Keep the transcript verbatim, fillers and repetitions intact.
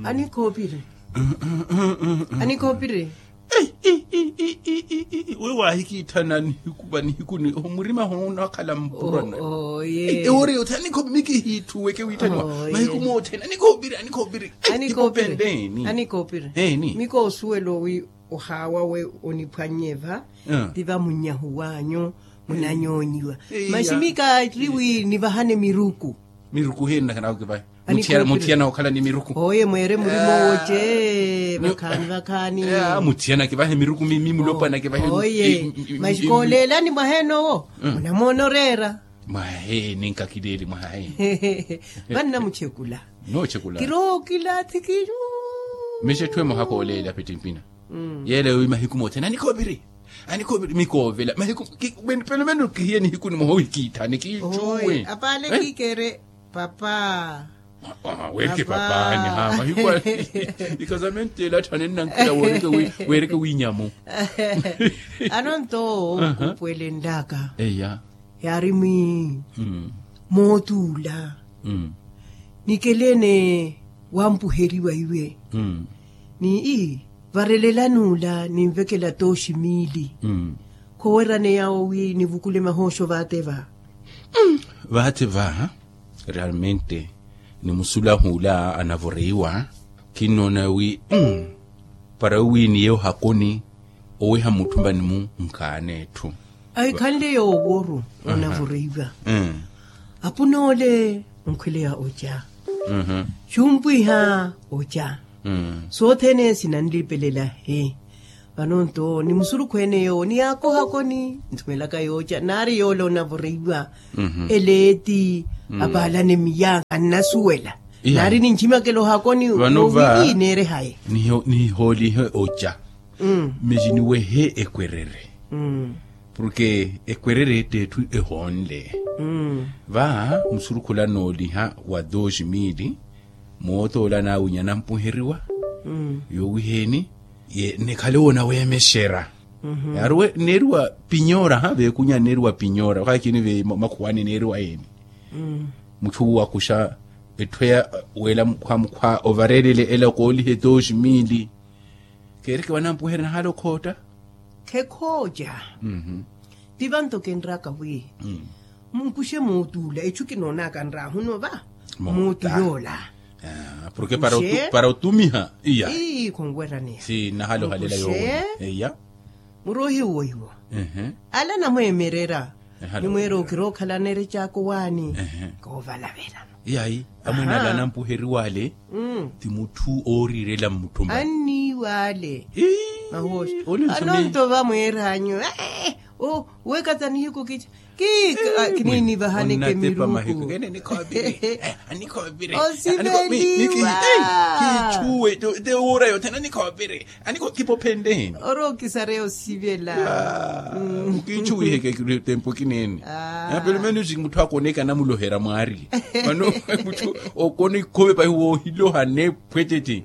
Anikhoopiri. Anikhoopiri. Wi wahikiitthana nihiku va nihikuni omurima hono onakhala mpurana. Ewoori yothene anikhoopiri mikihitthuweke wiitthaniwa mahiku mothene anikhoopiri anikhoopiri. Anikhoopiri. Miko osuwela owi ohaawawe oniphwannye va ti vamunnyahu wanyu munanyoonyiwa. Masi mika ttiri wi nivahane miruku. Miruku hiyo nnakhala okivahe. Muthiyana okhala ni miruku oye mweere murimo woce vakhaani vakhaani. Muthiyana kivahe miruku mimi mulopwana kivahe oye. Masi kooleelani mwaheenowo munamoona oreera. Mwaheeni nkakileeli mwaheeni. Vanna muchekula. Nochekula. Kirookila thikiyu. Mixe etthu emoha kooleela pettimpina. Yeela yowi mahiku mothene anikhoopiri. Anikhoopiri mikoovela mahiku. Pelomeno kihiye nihiku nimoha ohikiitthani kiicuwe. Apaale kiikere papa. Weereke papaani ha mahiku. Ikazamenteela atthane nnankela weereke wiinyamu. Anonto kuupwelenlaka eya. Yaari mwi mootuula. Nikeleene wampuheriwa iwe ni ii varelelani ula ninvekela tooxi miili. Khowerane yawo wi nivukule mahooxo vaate va. Vaate va realmente ni musulahu ula anavoreiwa. Kinnoona wi para wi niye ohakoni oweha mutthumani-mu nkhaana etthu. Ahikhanle yooworu onavoreiwa. Apun'ole onkhweleya oca. Xumpwiha oca. Sothene sinanlipelela he. Vano nto ni musurukhu ene yoowo ni yaakohakoni nthumelaka yooca naari yoole onavoreiwa. Eleeti apaalane miyankha nnasuwela. Naari ninchimakela ohakoni vano va niineere hayi. Nihoolihe oca. Mixiniwehe ekwerere. Porke ekwerere ett'etthu ehoonle. Va musurukhu ola anooliha wa dos mili mootoola anaawinya anampuheriwa. Yoowiheeni nekhale woonaweemexera. Yaari we neeriwa pinyora ha veekunya neeriwa pinyora okhaakini ve makhuwani neeriwa yeeni. Mutthu wakuxa etthu eya weela mukhwamukhwa ovarelele ela okoolihe dos mili. Keereke wanampuherya nahala okhootta. Khekhooca. Ti vanto kenraka wi munkuxe mootuula etthu kinoonaka nraahuno va. Mootu yoola. Porke para otumiha iya. Ii khonweraniha si nahala ohalela yoowo. Iya. Muroohi uwo iwo ala namweemerera. Nimweera okira okhalana erecaako waani. Koovalavelano. Yayi amwene ala anampuheriwa ale ti mutthu ooriirela mmutthumba. Anniiwa ale. Mahooxi. Anonto vamweeranyu. Wekatanihiku kica kika kiniinivahaneke miruku. Osiveleliwa. Kiichuwe te wura yothene anikhoopiri. Aniko kipophenleheni. Orookisarya osivela. Kiichuwiheke tempu kineeni. Pelomeno mutthu akoneke anamulohera mwaari. Mano mutthu okona ikhove pahi woohiloha nephwetete.